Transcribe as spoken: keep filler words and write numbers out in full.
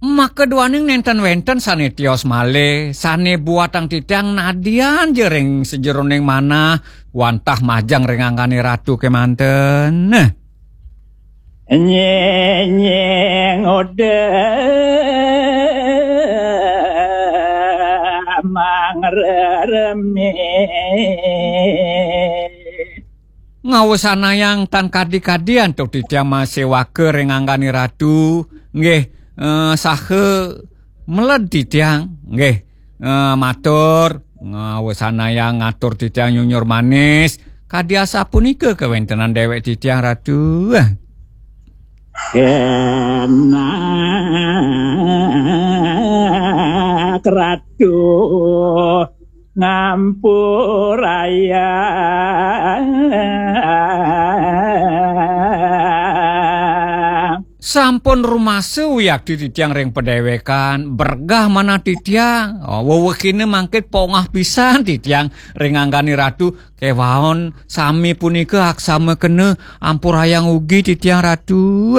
Maka duaning nénten wénten sané tios malih, sané buatang titiang nadian ja ring sajeroning manah, wantah majeng ring anggané ratu kémanten. Nyenyeng oda mangreremi. Ngawesanayang tan kadi-kadi antuk titiang maséwaka ring anggané ratu, nggih, eh, saha meled titiang, nggih, eh, matur, ngawesanayang ngatur titiang nyunyur manis, kadi asapunika kawéntenan déwék titiang, Ratu. Kenak Ratu ngampurayang. Sampun rumasa wiakti titiang ring padéwékan, bergah manah titiang. Oh, wewehina mangkin pongah pisan titiang ring anggané ratu, kéwaon sami punika aksama kena ampurayang ugi titiang ratu.